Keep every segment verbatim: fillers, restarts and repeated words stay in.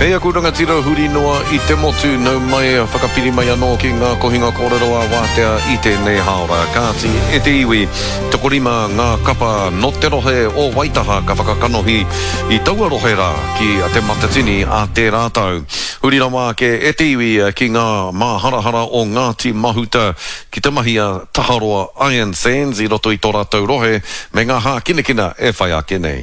Kei aku rangatira huri noa i te motu, nau mai, whakapiri mai anō ki ngā kohinga kōrero a Wātea i tēnei hāora. Kāti e te iwi, tokorima ngā kapa nō te rohe o Waitaha ka whakakanohi i taua rohe rā ki Te Matatini a tērā tau. Huri rawa ake e te iwi ki ngā māharahara o Ngāti Mahuta ki te mahi a Taharoa Iron Sands i roto i tō rātou rohe me ngā hākinakina e whai ake nei.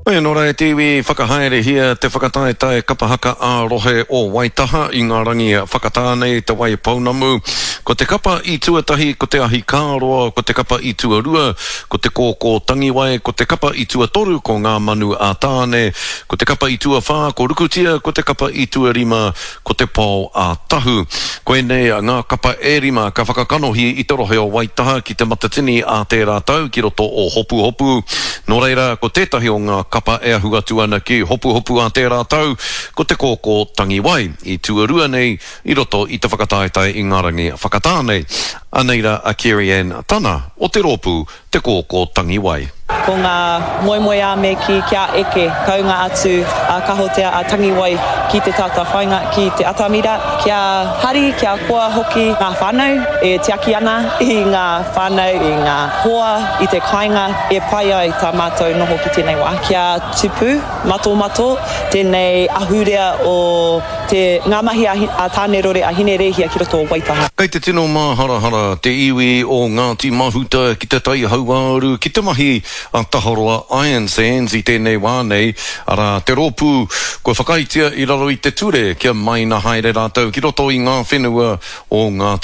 Hoi anō rā e te iwi, whakahaerehia te whakataetae kapa haka ā-rohe o Waitaha i ngā rangi whakatā nei Te Waipounamu. Ko te kapa i tuatahi ko Te Ahikāroa, ko te kapa i tuarua ko Te Kōkō Tangiwai, ko te kapa i tuatoru ko Ngā Manu a Tāne, ko te kapa i tuawhā ko Rukutia, ko te kapa i tuarima ko Te Pao a Tahu. Koinei ngā kapa e rima ka whakakanohi i te rohe o Waitaha ki Te Matatini ā tērā tau ki roto o Hopuhopu. Nō reira, ko tētahi o ngā kapa e ahu atu ana ki Hopuhopu ā tērā tau, ko Te Kōkō Tangiwai, i tuarua nei i roto i te whakataetae i ngā rangi whakatā nei. Anei rā a Kerry-Ann Tana o te rōpū Te Kōkō Tangiwai. Ko ngā moemoeā me kī kia eke taunga atu a Kahotea a Tangiwai ki te tātāwhainga, ki te atamira, kia hari, kia koa hoki ngā whānau e tiaki ana i ngā whānau, i ngā hoa, i te kāinga e pai ai tā mātou noho ki tēnei wā. Kia tupu matomato tēnei ahurea o te, ngā mahi a Tānerore, a Hinerēhia ki roto o Waitaha. Kei te tino māharahara te iwi o Ngāti Mahuta ki te Tai Hauāuru ki te mahi a Taharoa Iron Sands i tēnei wā nei, arā, te rōpū kua whakaaetia i raro i te ture kia maina haere rātou ki roto i ngā whenua o Ngāti